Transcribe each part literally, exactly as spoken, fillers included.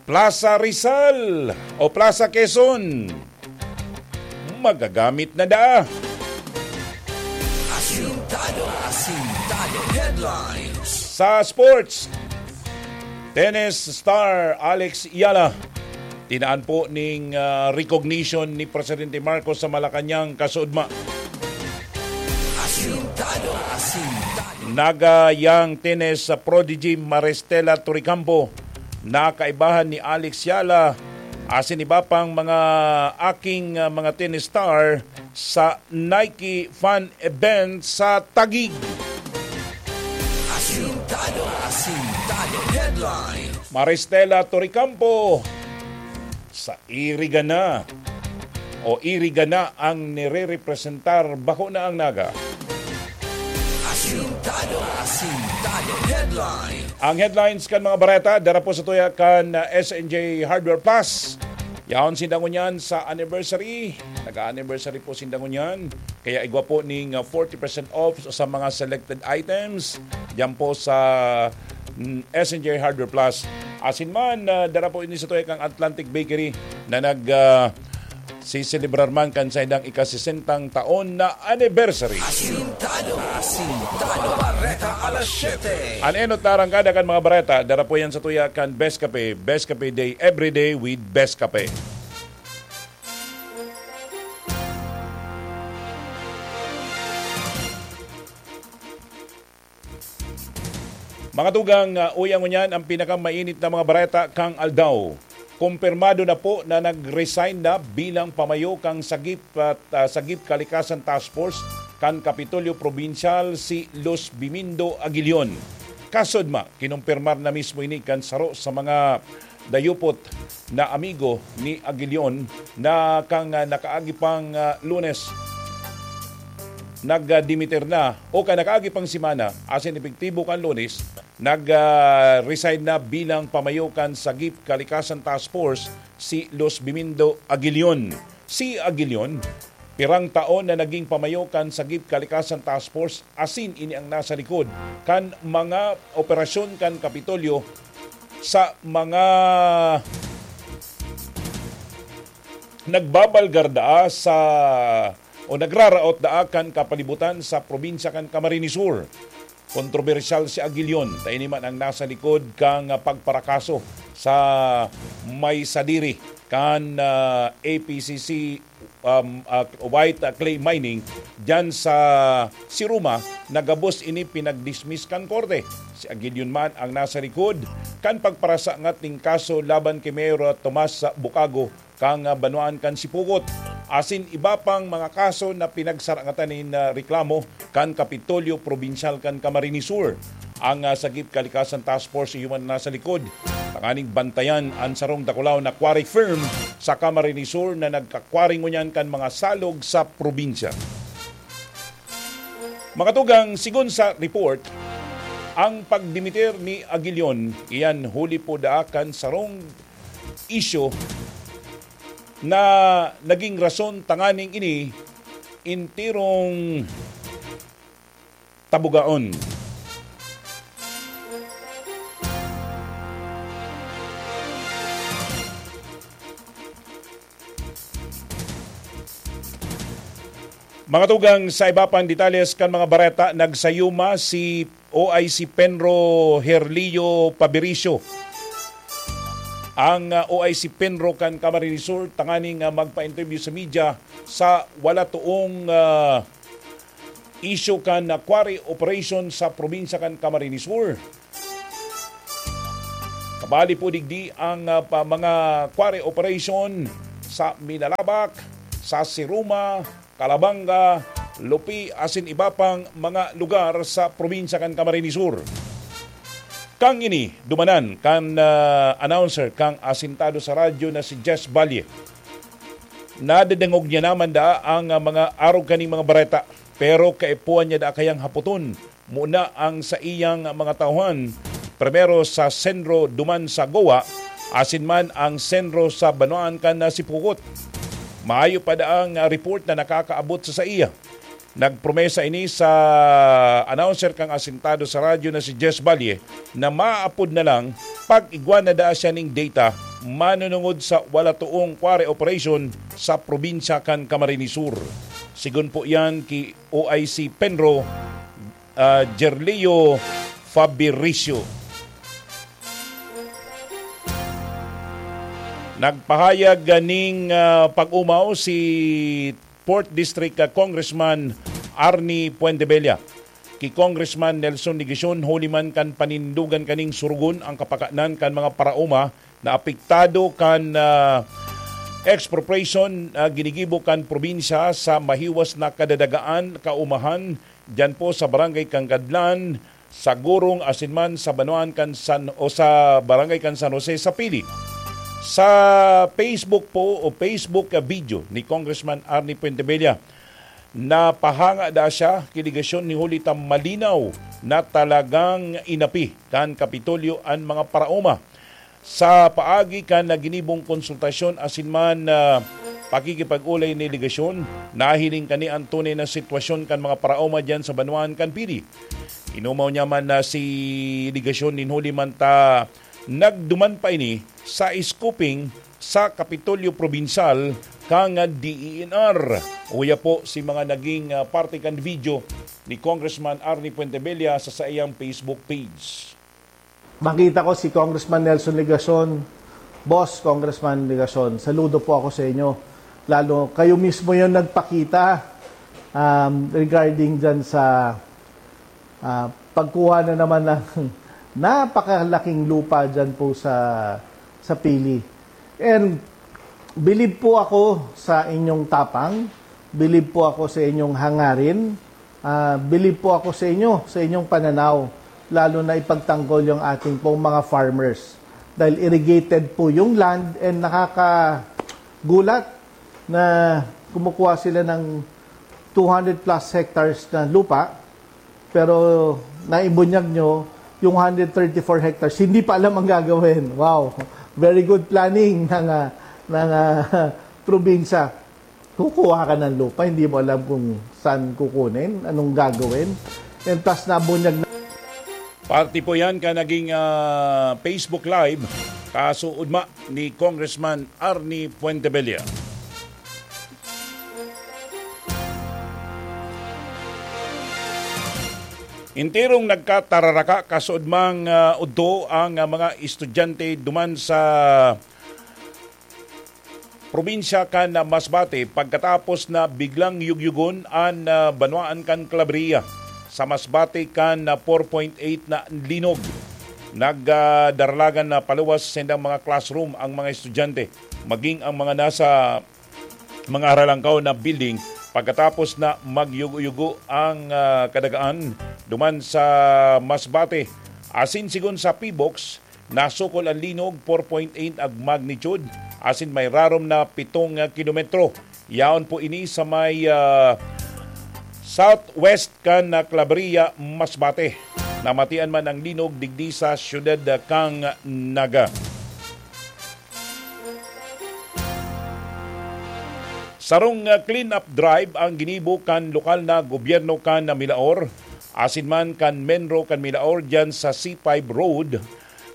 Plaza Rizal o Plaza Quezon, magagamit na daa. Asintado, asintado. Headlines. Sa sports, tennis star Alex Eala, tinaan po ning, ah, recognition ni Presidente Marcos sa Malacañang, kasuodma. Asintado, asintado. Naga young tennis prodigy Maristela Torrecampo, nakaibahan ni Alex Eala asin iba pang mga aking, ah, mga tennis star sa Nike fan event sa Taguig. Asintado, asintado. Headlines. Maristela Torrecampo, sa iriga na o iriga na ang nirerepresentar, bako na ang Naga. Asintado, asintado. Headlines. Ang headlines kan mga bareta, dara po sa tuya kan, ah, S N J Hardware Plus. Yaon sinda ngunyan sa anniversary. Nag-anniversary po sinda ngunyan. Kaya igwa po ning, ah, forty percent off sa mga selected items. Diyan po sa, mm, S N J Hardware Plus. Asin man, ah, dara po ini sa tuya kang Atlantic Bakery na nag, ah, siselebrar man kan saindang ikasesentang taon na anniversary. Asintado, asintado. Bareta alas siyete. An enot na arangkada kan mga bareta, dara po yan sa tuya kan Best Cafe. Best Cafe Day, every day with Best Cafe. Mga tugang, ah, uya ngunyan ang pinakamainit na mga bareta kang aldaw. Kumpirmado na po na nag-resign na bilang pamayo kang sagip at, ah, sagip kalikasan task force kan Kapitolyo Probinsyal si Luz Bimindo Aguilion. Kasudma, kinumpirmar na mismo ini kan saro sa mga dayupot na amigo ni Aguilion na kan, ah, nakaagi pang, ah, Lunes, nagdimiter na o kan nakaagi pang semana, asin epektibo kan Lunes, nag, ah, resign na bilang pamayo kan Sagip Kalikasan Task Force si Luz Bimindo Aguilion. Si Aguilion, pirang taon na naging pamayo kan Sagip Kalikasan Task Force, asin ini ang nasa likod kan mga operasyon kan Kapitolyo sa mga nagbabalgar daa sa o nagraraot daa kan kapalibutan sa probinsya kan Camarines Sur. Kontrobersyal si Aguilion, ta ini man ang nasa likod kan pagparakaso sa may sadiri kan, ah, A P C C, um, ah, white, ah, clay mining diyan sa Siruma, na gabos ini pinagdismiss kan korte. Si Aguilion man ang nasa likod kan pagparasangat ning kaso laban ki Mayor Tomas Bucago kan, ah, banwaan kan Sipocot, asin iba pang mga kaso na pinagsarangatan nin, ah, reklamo kan Kapitolyo Probinsyal kan Camarines Sur. Ang, ah, Sagip Kalikasan Task Force iyo man nasa likod tanganing bantayan an sarong dakulaw na quarry firm sa Camarines Sur na nagka-quarry ngunyan kan mga salog sa probinsya. Mga tugang, sigon sa report, ang pagdimiter ni Aguilion iyan huli po daa kan sarong isyu na naging rason tanganing ini enterong tabugaon. Mga tugang, sa iba pang detalles kan mga bareta, nagsayuma si O I C Penro Herlio Pabiricio. Ang, ah, O I C Penro kan Camarines Sur tanganing, ah, magpa-interview sa media sa wala toong, ah, isyu kan, ah, quarry operation sa probinsya kan Camarines Sur. Kabali po digdi ang, ah, pa, mga quarry operation sa Minalabac, sa Siruma, Calabanga, Lupi, asin iba pang mga lugar sa probinsya kan Camarines Sur. Kang ini, dumanan kan, ah, announcer kang asintado sa radyo na si Jess Valle. Nadadangog niya naman daa ang, ah, mga arog kaning mga bareta, pero kaipuhan niya daa kayang hapoton muna ang saiyang mga tauhan, primero sa Senro duman sa Goa, asin man ang Senro sa banwaan kan Sipocot. Mayo pa daang report na nakakaabot sa saiya. Nagpromesa ini sa announcer kang asintado sa radyo na si Jess Valle na maapod na lang pag igwa na daa siya ning data manunungod sa wala toong quarry operation sa probinsya kan Camarines Sur. Sigon po iyan ki O I C Penro, ah, Gerlio Fabiricio. Nagpahayag ning, ah, pag-umaw si Fourth District, ah, Congressman Arnie Fuentebella. Ki Congressman Nelson Legacion, huli man kan panindogan kaning surugon ang kapakanan kan mga paraoma na apektado kan, ah, expropriation, ah, ginigibo kan probinsya sa mahiwas na kadadagaan, kaumahan, diyan po sa Barangay Kangkadlan, sa Gurong, asin man sa banwaan kan San, o sa Barangay kan San Jose sa Pili. Sa Facebook po o Facebook, ah, video ni Congressman Arnie Fuentebella, napahanga da siya ki Legacion ni huli ta malinaw na talagang inapi kan Kapitolyo an mga paraoma. Sa paagi kan ginibong konsultasyon asin man, ah, pakikipag-olay ni Legacion, nahiling kani an tunay na sitwasyon kan mga paraoma diyan sa banwaan kan Pili. Inumaw niya man na si Legacion nin huli man ta nagduman pa ini sa scooping sa Kapitolyo Probinsyal kan D E N R. Uya po si mga naging, ah, parte kan video ni Congressman Arnie Fuentebella sa saiyang Facebook page. Makita ko si Congressman Nelson Legacion. Boss Congressman Legacion, saludo po ako sa inyo. Lalo kayo mismo yung nagpakita, um, regarding dyan sa, ah, pagkuha na naman ng napakalaking lupa dyan po sa, sa Pili. And believe po ako sa inyong tapang, believe po ako sa inyong hangarin, ah, believe po ako sa inyo, sa inyong pananaw, lalo na ipagtanggol yung ating pong mga farmers. Dahil irrigated po yung land and nakakagulat na kumukuha sila ng two hundred plus hectares na lupa, pero naibunyag nyo yung hundred thirty-four hectares, hindi pa alam ang gagawin. Wow! Very good planning ng, ah, ng, ah, probinsya. Kukuha ka ng lupa, hindi mo alam kung saan kukunin, anong gagawin. And plus, nabunyag na. Parte po yan ka naging, ah, Facebook Live, kasuodma ni Congressman Arnie Fuentebella. Enterong nagkatararaka kasuodmang, ah, udto ang, ah, mga estudyante duman sa probinsya kan Masbate pagkatapos na biglang yugyugon an, ah, banwaan kan Claveria sa Masbate kan, ah, four point eight na linog. Nagdaralagan na paluwas sa saindang mga classroom ang mga estudyante, maging ang mga nasa mga haralangkaw na building pagkatapos na magyugo-yugo ang, ah, kadagaan duman sa Masbate. Asin sigon sa P box, nasukol an linog, four point eight ang magnitude, asin may rarom na pitong kilometro. Yaon po ini sa may, ah, southwest kan, ah, Claveria, Masbate. Namatian man ang linog digdi sa siyudad, ah, kan Naga. Sarong, ah, clean-up drive ang ginibo kan lokal na gobyerno kan Milaor, asin man kan MENRO kan Milaor diyan sa C five Road.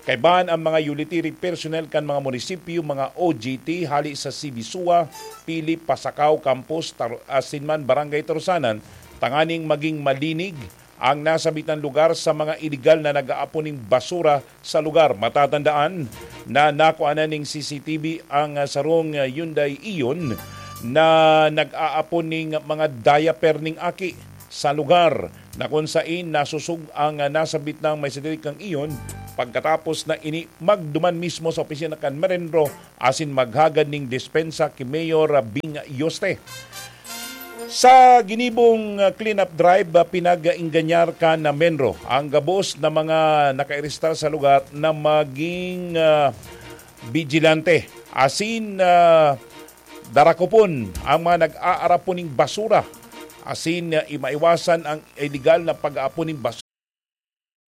Kaibahan ang mga utility personnel kan mga munisipyo, mga O G T, hali sa C B S U A, Pili, Pasacao, Campos, Tar-, asin man Barangay Tarusanan, tanganing maging malinig ang nasabitang lugar sa mga iligal na nag-aapon ning basura sa lugar. Matatandaan na nakuanan ning C C T V ang, ah, sarong, ah, Hyundai Eon na nag-aapon ning mga diaper ning aki sa lugar na kun sain nasusog ang, ah, nasabit nang may satelit kang Eon pagkatapos na ini magduman mismo sa opisina kan MENRO asin maghagad ning dispensa ki Mayor, ah, Bing Yoste. Sa ginibong, ah, clean-up drive, ah, pinag-ingganyar kan MENRO ang gabos na mga nakaarestar sa lugar na maging, ah, bigilante asin, ah, darakupon ang mga nag-aarapon ning basura asin, ah, i-, maiwasan ang iligal na pag-aapon ning basura.